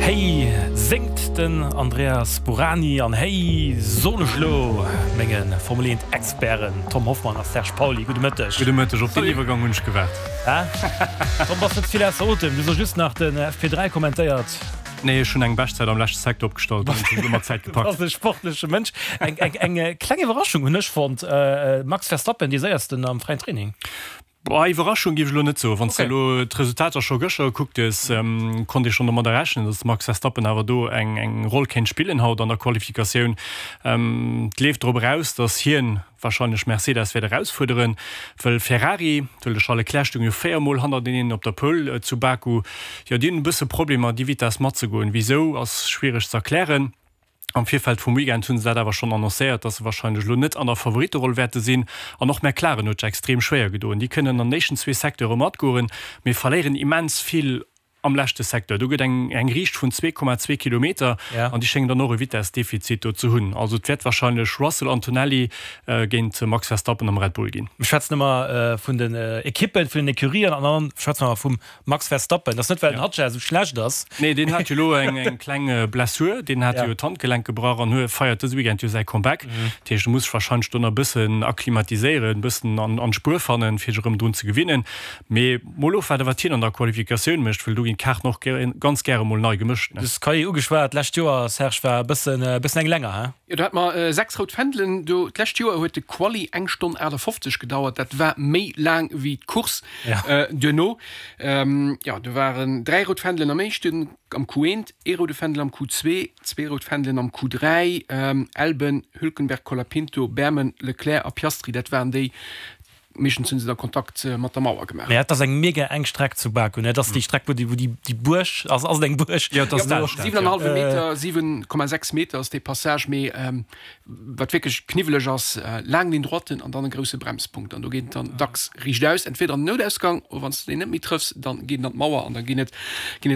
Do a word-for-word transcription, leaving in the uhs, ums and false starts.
Héi séngt den Andreas Bourani an héi soen ech elo menge Formel eent Experten Tom Hoffmann a Serge Pauly gudde Mëtteg. Gudde Mëtteg, op deen Iwwergang hunn ech gewaart. Tom, bass net vill ausser Otem, du hues just nach den F P dräi kommentéiert. Nee, ech hunn eng Beschtzäit am leschte Secteur opgestallt, dann hunn ech elo mat Zäit gepackt. Du bass e sportleche Mënsch. Eng, eng, eng kleng Iwwerraschung hunn ech fonnt, Max Verstappen dee séiersten am fräien Training. Boah, Iwwerraschung géif ech elo net soen. Wann s de elo d'Resultater scho gëschter gekuckt hues, konnt ee schonn domadder rechnen, datt de Max Verstappen awer do eng eng Roll kéint spillen haut an der Qualifikatioun. Et leeft drop eraus, datt hien warscheinlech Mercedes wäert erausfuerderen, wëll Ferrari, wëll de Charles Leclerc stoung jo véier Mol hannerteneen op der Pole zu Baku, jo déi hunn e bësse Problemer déi Vitess matzegoen. Wisou ass schwiereg ze erklären. Am Virfeld vum Weekend hu se dat awer schonn annoncéiert, dass se warscheinlech elo net an der Favoritteroll wäerte sinn. An och McLaren huet sech extrem schwéier gedoen. Déi kënnen an den éischten zwee Secteure matgoen, mee verléieren immens vill am leschte Secteur. Do gëtt eng eng Riicht vun zwee Komma zwee Kilometer an déi schéngen dann och e Vitessdefizit do ze hunn. Also et wäert warscheinlech Russell, Antonelli géint Max Verstappen am Red Bull ginn. Mir schwätzen ëmmer vun den Ekippen, vun den Ecurien an dann schwätze mer vum Max Verstappen. Dat ass net well den Hadjar esou schlecht ass. Nee, deen hat jo elo eng eng kleng Blessur, deen hat jo d'Handgelenk gebrach an huet feiert dëse Weekend jo säi Comeback. Dat heescht, e muss sech warscheinlech do nach e bëssen akklimatiséieren, e bëssen an an d'Spuer fannen, fir sech erëm drun ze gewinnen. Mee mol ofwaarden, wat hien an der Qualifikatioun mécht, well do ginn d'Kaarten och ganz gäre mol nei gemëscht. Du hues d'Quali ugeschwat, d'lescht Joer, Serge, war e bëssen e bëssen eng länger, he? Jo, do hate mer sechs rout Fändelen. Do d'lescht Joer huet de Quali eng Stonn aachtafofzeg gedauert. Dat war méi laang wéi d'Course duerno. Jo, do waren dräi rout Fändelen am éischten, am Q eent, ee roude Fändel am Q zwee, zwee rout Fändelen am Q dräi, Albon, Hülkenberg, Colapinto, Bearman, Leclerc a Piastri. Dat waren déi. Meeschtens hunn se da Kontakt mat der Mauer gemaach. Mä et ass eng mega enk Streck zu Baku, ne? Et ass déi Streck, wou déi, wou déi, déi Buerg ass. Ass et eng Buerg? Jo, et ass d'Alstad, jo. Siwen an e hallwe Meter, siwen Komma sechs Meter ass dee Passage. Mee wat wierklech kniwweleg ass, laang Ligne droite an dann e grousse Bremspunkt. An do geet et dann dacks riichtaus, entweder an den Noutausgang, oder wann s de deen net méi trëffs, dann geet en an d'Mauer an da ginn et, ginn et